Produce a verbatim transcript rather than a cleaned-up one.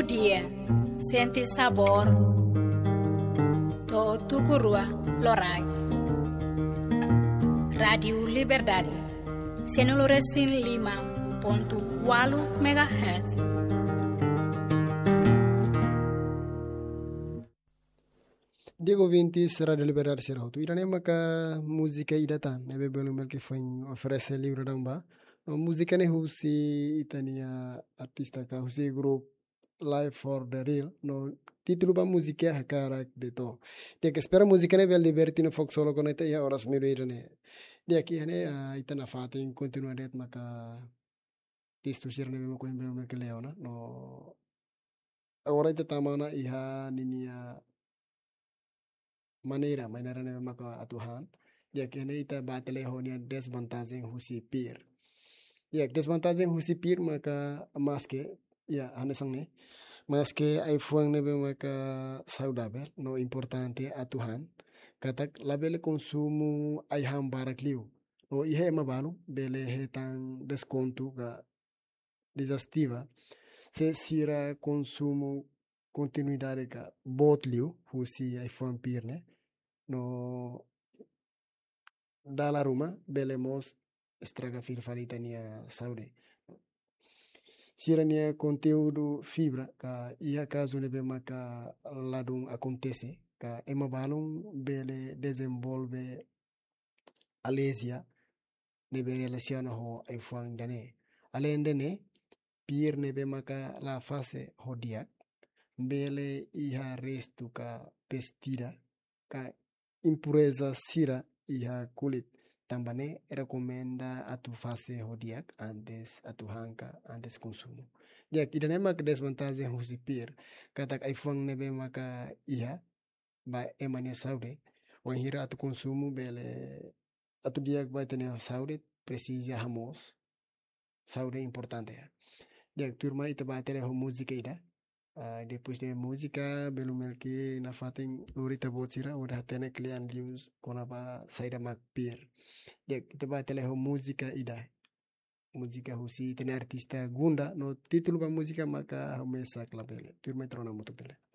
Dia, sente sabór. To'o tuku rua loraik. Rádiu Liberdade, sianulu resin lima pontu ualu megahertz. Di'ak ouvintes Rádiu Liberdade sira hotu. Ida-ne'e maka múzika ida tan ne'ebé belun Melki foin oferese liu dadaun ba. No múzika ne'e husi ita-nia artista ka husi grupu Live for the Real. No títulu ba múzika Hakarak De'it Ó. Di'ak, espera múzika ne'e bele diverte no foku solo konekta iha oras meiudia ida-ne'e. Di'ak, iha ne'e, ah, ita nafatin kontinua de'it maka testu sira ne'ebé mak ohin belun Melki lee ona. No agora ita tama ona iha ninia maneira, maneira ne'ebé maka atu han. Di'ak, iha ne'e ita bá tau lee ho nia desvantajen husi pir. Di'ak, desvantajen husi pir maka maske, ya, hanesan ne'e. Maske ai-fuan ne'ebé maka saudavel, no importante atu han. Katak labele konsumu ai-han barak liu. No iha ema balun bele hetan deskontu ka digestiva, se sira konsumu kontinuidade ka boot liu husi ai-fuan pir ne'e. No dala ruma bele mós estraga fila fali ita-nia saúde. Sira-nia konteúdu fibra ka iha kazu ne'ebé maka ladún akontese ka ema balun bele dezenvolve alerjia ne'ebé relasiona ho ai-fuan ida-ne'e. Aleinde ne'e, pir ne'ebé maka la fase ho di'ak, bele iha restu ka pestida, ka impureza sira iha kulit. Tanba ne'e rekomenda atu fase ho di'ak antes atu han ka antes konsumu. Di'ak, ida-ne'e maka desvantajen husi pir, katak ai-fuan ne'ebé maka iha ba ema nia saúde. Wainhira atu konsumu bele atu di'ak ba ita-nia saúde, presiza hamoos. Saúde importante ya. Di'ak, tuirmai ita bá tau lee ho múzika ida. Ah, depois de múzika, belun Melki nafatin lori ita-boot sira, hodi hatene kle'an liu kona-ba saida mak pir. Di'ak, ita bá tau lee ho múzika ida. Múzika husi ita-nia artista Gunda, no títulu ba múzika maka Ha'u Mesak Labele. Tuirmai ita rona hamutuk tau lee.